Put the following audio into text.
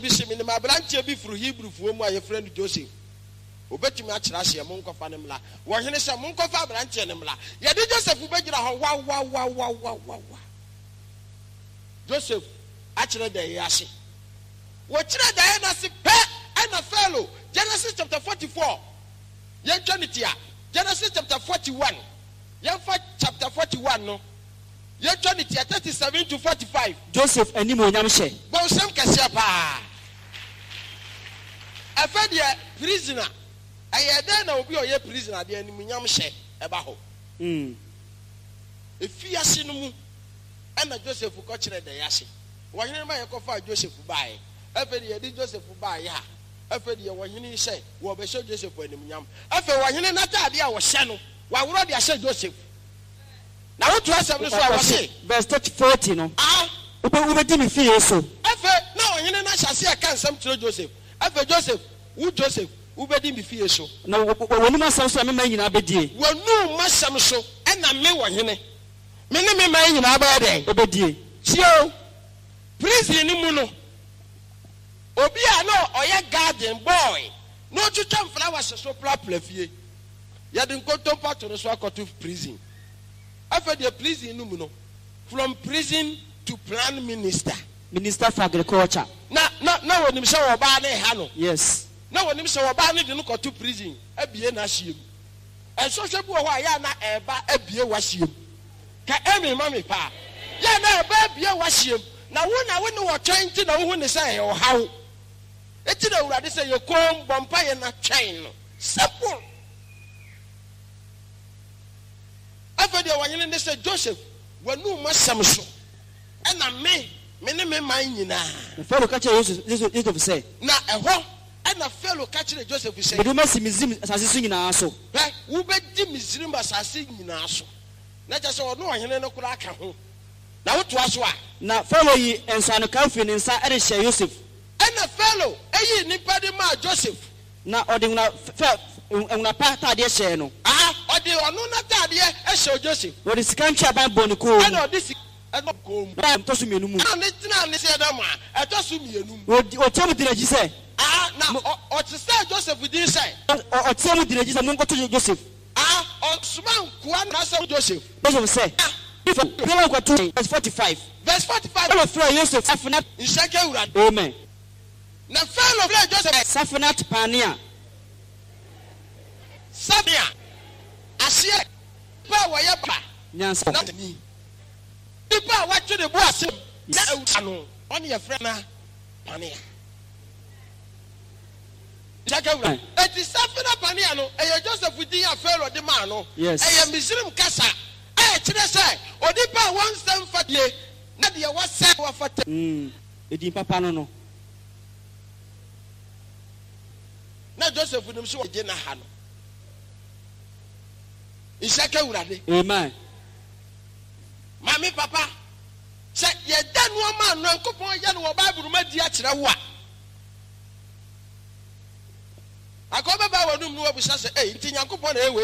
Bi se, Menim aberanteɛ bi firi Hebrifoɔ mu a wɔfrɛ no Joseph. Ɔbɛtumi akyerɛ aseɛ. Monkɔfa no mmra. Ɔhene sɛ, Monkɔfa aberanteɛ no mmra. Yɛde Joseph bɛgyina hɔ wawawawawawa. Joseph akyerɛ daeɛ ase. Wɔkyerɛ daeɛ no ase pɛ ɛna Pharaoh, Genesis chapter 44, yɛntwa no tia, Genesis chapter 41, yɛmfa chapter 41 no. Yɛtwa ne tia 37 to 45. Joseph animuonyam hyɛ. Bɔnsam kɛseɛ paa. Ɛfɛ deɛ prisoner, ɛyɛ dɛn na obi a ɔyɛ prisoner deɛ animuonyam hyɛ ɛba hɔ? Efiase no mu ɛna Joseph kɔkyerɛ dɛn ase. Ɔhene no ma yɛkɔfaa Joseph baeɛ. Afei deɛ yɛde Joseph baeɛ a, afei deɛ ɔhene yi sɛ wɔrebɛhyɛ Joseph animuonyam. Afei ɔhene no ataadeɛ a ɔhyɛ no, waworɔ de ahyɛ Joseph. Na woto asɛm no so a, wɔse. Verse 40 no, Wobɛdi me fie so. Afei na ɔhene no ahyɛ aseɛ reka nsɛm kyerɛ Joseph. Afei Joseph, wo Joseph, wobɛdi me fie so. Na w'anom asɛm so na me man nyinaa bɛdie. W'anom asɛm so na me ɔhene, me ne me man nyinaa bɛyɛ dɛn? Bɛdie. Tie o, prison no mu no, obi a na ɔyɛ garden boy na ɔtwitwa mflawɛse so prapra fie. Yɛde nkontompo ato no so akɔto prison. Afei deɛ prison no mu no, from prison to plan minister. Minister for agriculture. Na na na wɔnim sɛ ɔbaa no reha no. Yes. Na wɔnim sɛ ɔbaa no de no kɔto prison abue n'ahyeɛ mu. Nsɔhwɛ bi wɔ hɔ a yɛ a na ɛreba abue w'ahyeɛ mu. Ka amen ma me paa. Yɛ a na ɛreba abue w'ahyeɛ mu. Na wo na wo ne ɔtwɛn nti na wohu no sɛ ɛyɛ ɔhaw. Enti na Awurade sɛ yɛ komm, bɔ mpaeɛ na twɛn no. Simple. Afei deɛ ɔhene ne sɛ, Joseph, w'anum asɛm so na me, me ne me man nyinaa. Na Farao ka kyerɛɛ Yosef sɛ. Na ɛhɔ na Farao ka kyerɛɛ Joseph sɛ. Mede wo masi Misraim asase so nyinaa so. Hwɛ, wobɛdi Misraim asase nyinaa so. Na kyerɛ sɛ ɔne ɔhene no koraa ka ho. Na wotoa so a. Na Farao yii nsɔanokaa firii ne nsa de hyɛɛ Yosef. Ɛnna Farao yii nnipa de maa Joseph. Na ɔde nwera fɛ, nwera pa ataadeɛ hyɛɛ no. Aha, ɔde ɔno n'ataadeɛ hyɛɛ Joseph. Na ɔde sika ntweaban bɔɔ ne kɔn mu. Ɛnna ɔde sika bɔɔ ne kɔn mu. Na ɛtɔ so mmienu mu. Ɛnna ɔne tenaa ne seɛdam a ɛtɔ so mmienu mu. Na ɔteaa mu dii n'akyi sɛ. Aha, na ɔsesaa Joseph din sɛ. Ɔteaa mu dii n'akyi sɛ, Monkɔto Joseph. Aha, ɔsomaa nkoa no sɛ Joseph. Joseph sɛ, Biara nkɔto yɛn. Verse 45. Verse 45. Farao frɛɛ Yosef Safenat. Nhyira nka Awurade. Amen. Na Farao frɛɛ Joseph. Safenat Panea. Safenat, aseɛ, nipa a wɔyɛ ba. Nyansa. Na ni. Nipa a watwe ne bo ase na awura no, ɔne yɛfrɛ no Panea. Nhyira nka Awurade. Enti Safenat Panea no, ɛyɛ Joseph din a Farao de maa no. Yes. Ɛyɛ Misraim kasa a ɛkyerɛ sɛ onipa a wɔnsɛ mfa die na deɛ wɔsɛ wafata. Edin papa no no. Na Joseph nim sɛ wɔgye n'aha no. Nhyira ka Awurade. Amen. Maame, papa, sɛ yɛda nneɛma a Nyankopɔn yɛ no wɔ Bible mu adi akyerɛ wo a, anka wobɛba w'anum na woabisa sɛ, Ei, nti Nyankopɔn na ɛyɛ wei?